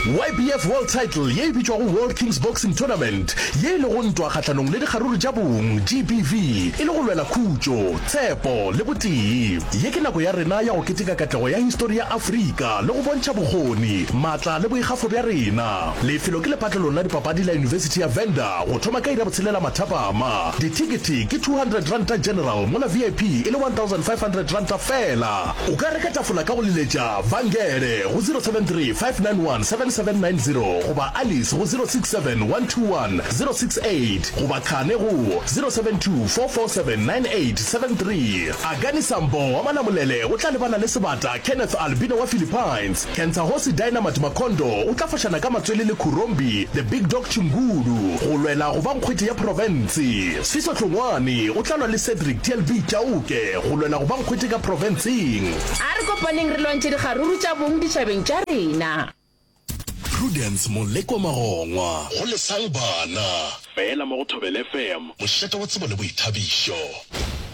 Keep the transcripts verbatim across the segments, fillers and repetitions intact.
YBF World Title ye e bitšwago World Kings Boxing Tournament, ye e lego ntwa kgahlanong le dikgaruru tša bong, GBV, e le go lwela khutšo, tshepo le botee. Ye ke nako ya rena ya go keteka katlego ya histori ya Afrika le go bontšha bokgoni, maatla le boikgafo bja rena. Lefelo ke lepatlelong la dipapadi la Yunibesithi ya Venda go thoma ka iri ya botshelela mathapama. Dithekethe ke two hundred ranta general mola VIP e le one thousand five hundred ranta fela. O ka reka tafola ka go leletša Vangele go zero seven three five nine one seven seven nine zero goba Alice go zero six seven one two one zero six eight goba Khane go zero seven two four four seven nine eight seven three. Akani Sambo wa Malamulele o tla lebana le sebata Kenneth Albino wa Philippines. Kentsahosi Dynamite Makondo o tla fošana ka matswele le Khurombi The Big Dog Chingulu go lwela go ba nkgwete ya profense. Sfiso Hlongwane o tla lwa le Cedric TLB Chauke go lwela go ba nkgwete ka profenseng. A re kopaneng re lwantšhe dikgaruru tša bong ditšhabeng tša rena. Prudence Molekwa Magongwa. Go Lesang Bana. Feela mo go Thobela FM. Mošate wa tsebo le boithabišo.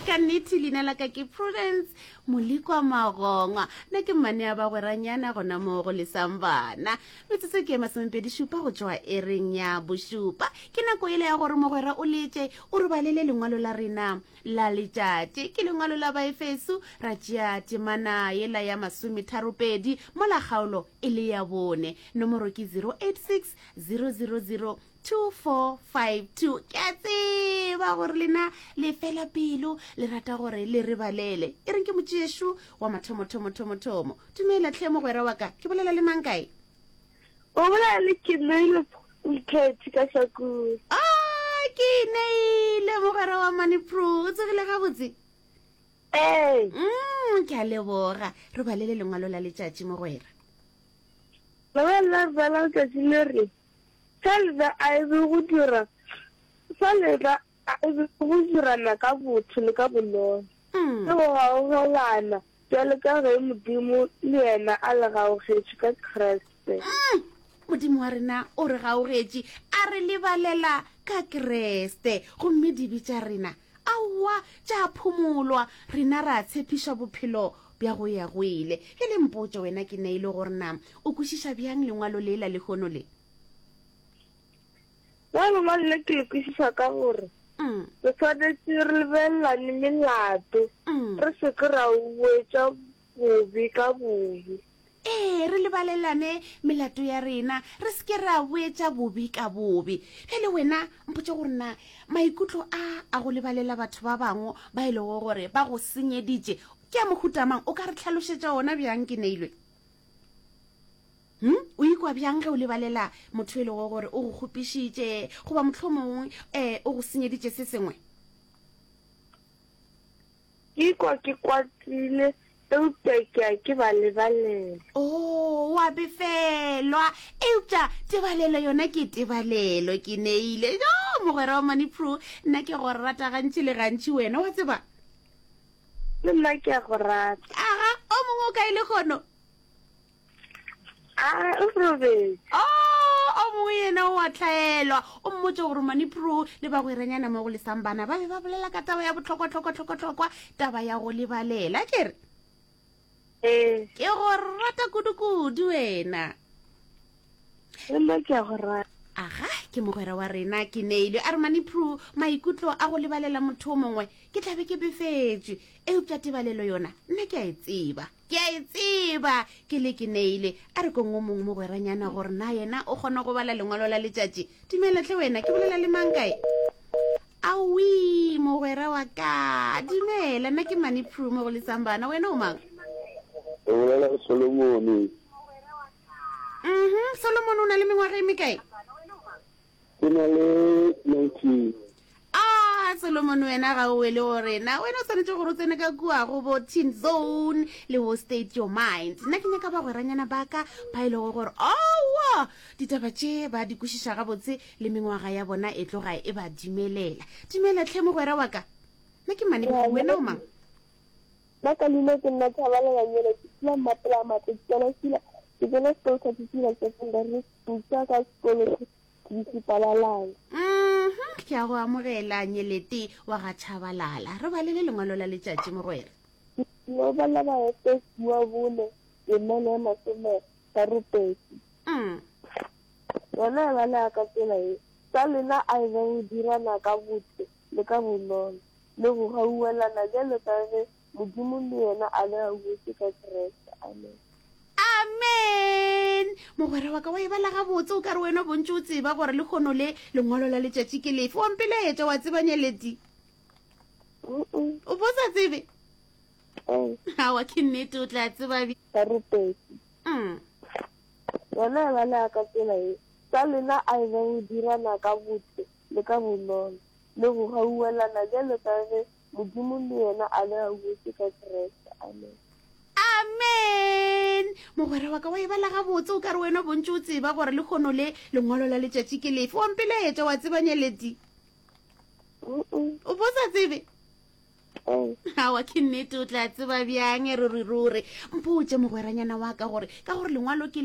Ka nnete leina la ka ke Prudence Molekwa Magongwa. Nna ke mmane ya bagweranyana gona mo go Lesang Bana. Metsotso ke e masomepedi šupa go tšwa ereng ya bošupa. Ke nako yela ya gore mogwera o letše o re balele lengwalo la rena la letšatši. Ke lengwalo la Baefeso, ra tšea temana yela ya masometharopedi mola kgaolo e le ya bone. Nomoro ke zero eight six zero zero zero two four five two. Ke a tseba gore lena le fela pelo, le rata gore le re balele. E reng ke motšešu wa mathomo-thomo-thomo-thomo. Dumela hle mogwera wa ka, ke bolela le mang kae? O bolela le Keneilwe Mokhethi ka Hlakong. Ah, Keneilwe mogwera wa Manipro, o tsogile gabotse? Ee. Mm, ke a leboga. Re balele lengwalo la letšatši mogwera. Lengwalo la rena la letšatši le re, Sa lena a e be go dira, sa lena a e be go dirana ka botho le ka bonolo, Mm. le go gaugelana, bjalo ka ge Modimo le yena a le gaugetše ka Kriste. Mm. Modimo wa rena o re gaugetše, a re lebalela ka Kriste, gomme dibe tša rena, aowa, tša phumolwa, rena ra tshepišwa bophelo bja go ya go ile. Bjale mpotše wena ke neile gore na o kwešiša bjang lengwalo le la lehono le? Nna lengwalo le ke le kwešiša ka gore Mm. re swanetše re lebelelane melato, Mm. re se ke ra boetša bobe ka bobe. Ee, re lebalelane melato ya rena, re se ke ra boetša bobe ka bobe. Bjale wena mpotše gore na maikutlo a a go lebalela batho ba bangwe ba e lego gore ba go senyeditše ke a mohuta mang? O ka re hlalošetša ona bjang ke neilwe? Hm? O ikwa bjang ge o lebalela motho e lego gore o go kgopišitše goba mohlomongwe um o go senyeditše se sengwe? Ke ikwa ke kwatile, eupša ke a ke ba lebalela. Oh, wa befelwa, eupša tebalelo yona ke tebalelo, ke neile. Jo, mogwera wa Manipro, nna ke go rata gantši le gantši wena, wa tseba? Le nna ke a go rata. Aga, o mongwe o kae lehono? A, o robetše. Oh, o mongwe yena o a tlhaelwa. O mmotše gore Manipro le bagweranyana mo go Lesang Bana ba be ba bolela ka taba ya bohlokwa-hlokwa-hlokwa-hlokwa, taba ya go lebalela, ke re? Ee. Ke go rata kudu-kudu wena. Le nna ke a go rata. Aga, ke mogwera wa rena ke neilwe. A re Manipro, maikutlo a go lebalela motho o mongwe ke tla be ke befetšwe, eupša tebalelo yona nna ke a e tseba. Ke a e tseba ke le ke neile. A re kong o mongwe mogweranyana gore na yena o kgona go bala lengwalo la letšatši. Dumela hle wena, ke bolela le mang kae? Aowi, mogwera wa ka. Dumela, nna ke Manipro mo go Lesang Bana, wena o mang? O bolela le Solomone. Mhm, Solomone o na le mengwaga e mekae? Ke na le nineteen. Ah, Solomon, wena ga o wele go rena. Wena o swanetše gore o tsene ka kua go bo Teen Zone le bo State Your Mind. Nna ke nyaka bagweranyana ba ka ba e lego gore aowa ditaba tše ba di kwešiša gabotse le mengwaga ya bona e tloga e ba dumelela. Dumela hle mogwera wa ka. Nna ke Mane, wena o mang? Nna ka leina ke nna Thabalala Nyele, ke dula Mmapela Matlo, ke tsena Sila, ke tsena sekolo sa Tsitsila Secondary School, sa ka sekolo Tshipalalala. Mhm, ke a go amogela Nyelete wa ga Tshabalala. Re balele lengwalo la letšatši mogwera. Lo bala Baefeso wa bone, temana ya masome tharo pedi. Mm. Yona e balega ka tsela ye, Sa lena a e be go dirana ka botho le ka bonolo, le go gauelana bjalo ka ge Modimo le yena a le gauetše ka Kriste. Amen. Amen! Mogwera wa ka wa e bala gabotse, o ka re wena o bontše o tseba gore lehono le lengwalo la letšatši ke lefe. Wa mpelaetša, wa tseba Nyeleti? O bo sa tsebe? Aowa, ke nnete, o tla tseba bjang. Barupetši. Mm. Yona e balega ka tsela ye, Sa lena a e be go dirana ka botho le ka bonolo, le go gauelana bjalo ka ge Modimo le yena a le gauetše ka Kriste. Amen. Amen! Mogwera wa ka wa e bala gabotse, o ka re wena o bontše o tseba gore lehono le lengwalo la letšatši ke lefe. Wa mpelaetša, wa tseba Nyeleti? O bo sa tsebe? Aowa, ke nnete, o tla tseba bjang ruriruri. Mpotše mogweranyana wa ka gore ka gore lengwalo ke le.